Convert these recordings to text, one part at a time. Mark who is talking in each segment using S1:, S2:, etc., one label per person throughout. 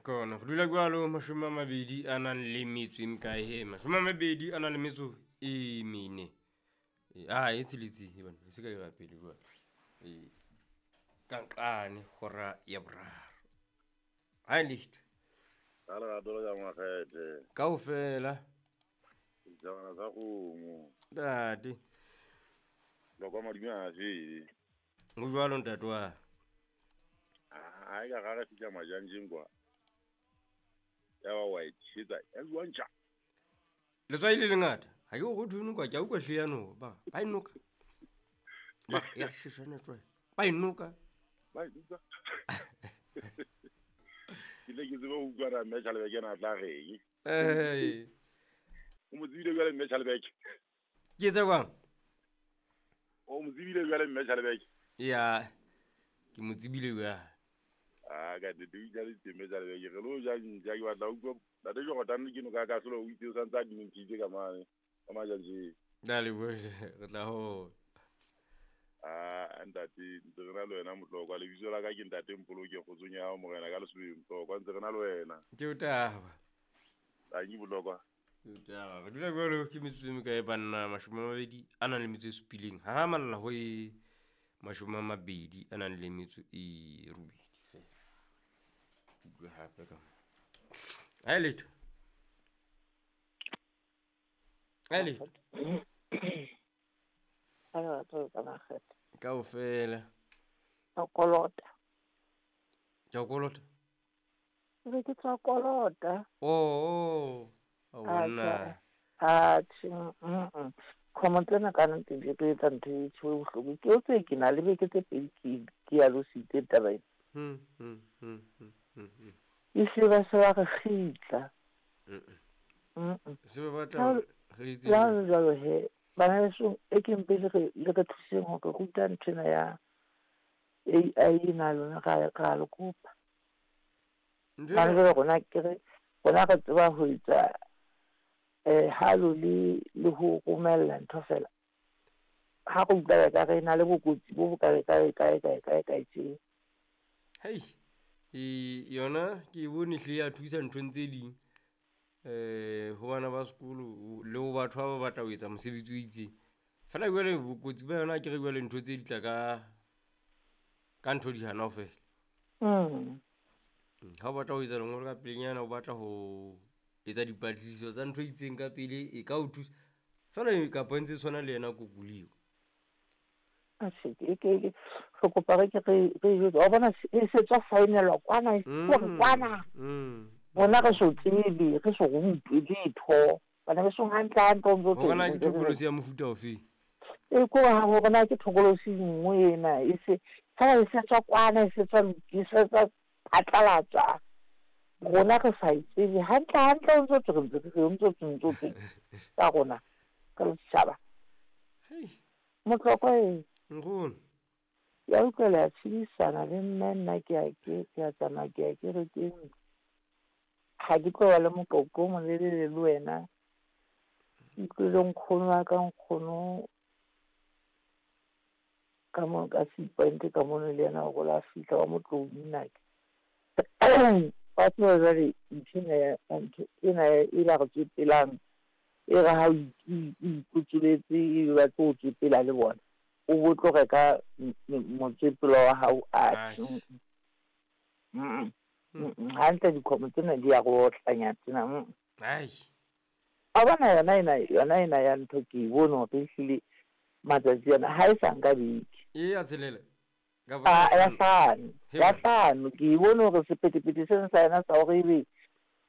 S1: Kona go dula jalo 28 e mekae he? 24, a e tsheletse e bana e se ka ira pele jwale. E ka nqane hora ya boraro. Hai licht.
S2: Ka lerato le ka makgethe.
S1: Kaofela.
S2: Sejana sa kgomo.
S1: Ntate.
S2: Lokwa madume a fele.
S1: Ho jwalo ntate wa.
S2: Ha e ka ga re fihla majanjeng kwa. Ya ba wa e tjhetsa, ya bua ntja.
S1: Letswai le lengata. Ha ke go thwe noka, ke a utlwa hle ya no. Ba e noka. Ba ya shishana tswai. Ba e noka.
S2: Ba e noka. Ke le ke tsebe ho utlwa ra mme Tjhalebeke na tla reng.
S1: Eh.
S2: O mo tsebile jwale mme Tjhalebeke?
S1: Ke tse kwang?
S2: O mo tsebile jwale mme Tjhalebeke?
S1: Ya. Ke mo tsebile jwale.
S2: Ah, ka nnete o itjaditse mme Tjhalebeke. Re lo ja ntja, ke batla ho utlwa Ntate Jordan ke no ka ka solo o itse o santse a dintshitse ka mane. Ka majanjeng.
S1: Dale bohle, re tla ho.
S2: Ah, ntate, ntse re na le wena Motlokwa. Lebitso la ka ke ntate Mpoloke, kgotsong ya hao morena ka Lesobeng Motlokwa. Ntse re na le wena.
S1: Ke o taba.
S2: Tanki Motlokwa.
S1: Ke o taba. Re dula jwalo ke metsotso e mekae banna? 27. Ha malla ho e 28 feela. Utlwe hape ka mo. Ha letho. Ha letho. Kaofela.
S3: Ka kolota.
S1: Ke a kolota?
S3: Ke ke tswa kolota.
S1: Oh, oh. Monna.
S3: Atjhe, Kgomo tsena ka nnete di re etsa ntho e tjho e bohloko. Ke o tse ke na le beke tse pedi ke ya lositse taba ena. E se ba se ba re kgitla.
S1: Se ba batla re itse.
S3: La jwalo he, bana beso e ke mpe le re thuseng hore ruta nthwena ya AI ena lona ra le kopa. Bana jwale rona ke re rona re tseba ho etsa halo le ho romella ntho fela. Ha re utlwa ka re na le bokotsi bo bo kae kae kae kae kae kae tje.
S1: Hei, yona ke bone hle ya thusa nthong tse ding. Ho bana ba sekolo le ho batho ba batla ho etsa mosebetsi o itseng. Fela jwale bokotsi ba yona ke re jwale ntho tse di tla ka ntho di hana ho fela. Ha o batla ho etsa lengolo ka pelenyana, o batla ho etsa dipatlisiso tsa ntho e itseng ka pele, e ka o thusa. Fela e kapa ntse tshwana le yena Google.
S3: Atjhe, ke re kopa re ke re jwetse. Wa bona e se tswa saenelwa kwana, e kwana. Rona re so tsebe, re so rutwe letho. Bana besong hantle hantle o ntso
S1: Hore na ke thokolosi ya mofuta ofe?
S3: E ko hore na ke thokolosi nngwe ena e se fela e se tswa kwana, e se tswa e se tswa phatlalatswa. Rona re sa e tsebe hantle hantle o ntso re ntse re ntso tsa rona ka setjhaba. Motlokwa e.
S1: Nkgono.
S3: Ya utlwa le a tshedisana le nna nna ke a tsamaya ke ya kerekeng. Ha ke tlo ba le moqoqo o molelele le wena. Ke utlwile nkgono wa ka nkgono ka mo ka Sea Point ka mono le yena o la fihla wa Motlou nnake. Wa tseba jwale ntho ena e ba re tswepelang e re ha o ikotsoletse e ba tlo o tswepela le bona. O bo tlo reka motswepelo wa hao a. Hantle dikgomo tsena di ya go otlanya tsena.
S1: Ai.
S3: A bona yona ena ya ntho ke e bone hore ehlile matsatsi ana ha e sa nka beke.
S1: E ya tshelela.
S3: Ya hlano ke e bone hore sephethephethe sena sa yona sa hore ebe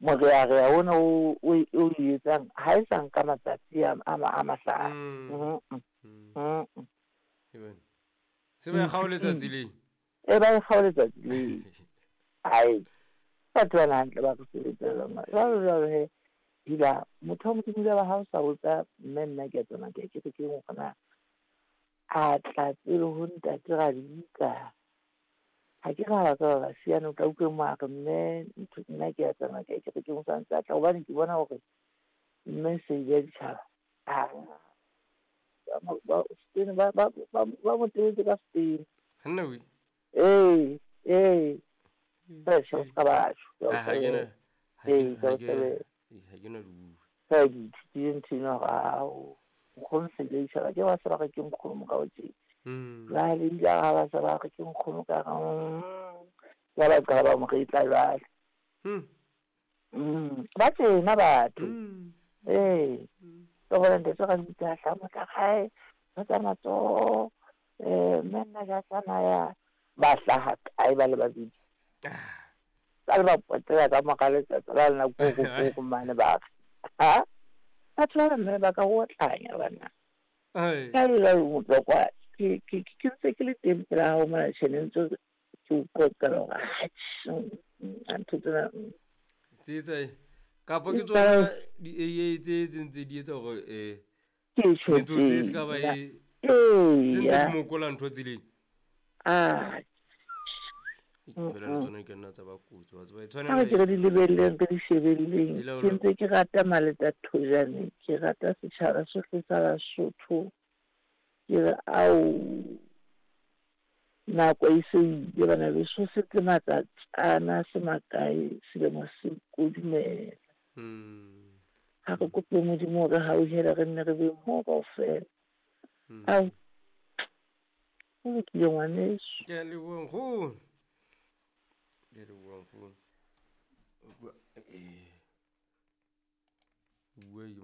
S3: morearea ona o etsang ha e sa nka matsatsi a mahlano.
S1: Se ba e kgaoletsa tseleng.
S3: E ba e kgaoletsa tseleng. Ai. Batho bana hantle ba re sebetsa jwalo jwalo he. Dila motho wa Modimo ba ha o sa botsa mme nna ke a tsamaya ke ya kerekeng hore na a tla pele ho ntate Radika. Ha ke ra ba ka ba siyana o tla utlwe mo a re mme nna ke a tsamaya ke ya kerekeng o sa ntse a tla hobane ke bona hore mme se ile ditjhaba. Ba mo tebetse ka setene.
S1: Hanna we.
S3: Ee. Fela tjhe, o ska ba tjho.
S1: Ha ke na
S3: Ee, ka o tsebe.
S1: Ha ke na di bua.
S3: Fela ke ithutile ntho ena hore ao, nkgono se ile itjhaba ke ba se ba re ke nkgono morao tje. Jwale ebile ha ba se ba re ke nkgono ka re ya ba qala ba mo retla jwale. Ba tjena batho. Ee. Ka bona ntate ra bitsa hla motla gae ba tsa matsoho mme nna ke a tsamaya ba hlaha kae ba le babedi. Ba le ba potela ka mora letsatsi la lena koko koko mane ba re ha batho ba mme ba ka o otlanya bana. Ka le la utlwa kwa ke ke ke ntse ke le teng pela hao mona tjhene ntse ke o qoqela hore atjhe ntho tsena.
S1: Tse kapa ke tsona di-AA tse tse ntse di etsa hore
S3: Ke tjho
S1: metsotso e se ka ba e tse ntse di mokola ntho tseleng.
S3: Ah.
S1: Fela le tsona di ka nna tsa ba kotsi wa tseba e
S3: Ha
S1: tshwanela
S3: re ke re di lebelleng re di shebelleng.
S1: E laola-
S3: Ke ntse ke rata Maleta Thojane, ke rata setjhaba sohle sa Basotho. Ke re ao nako e se ile bana beso se tle matsatsana se makae selemo se kodumela. Ha re kope Modimo hore hauhele re nne re be mmoho kaofela. Ao ho lokile ngwaneso.
S1: Ke a leboha nkgono. Ke a leboha nkgono. Bua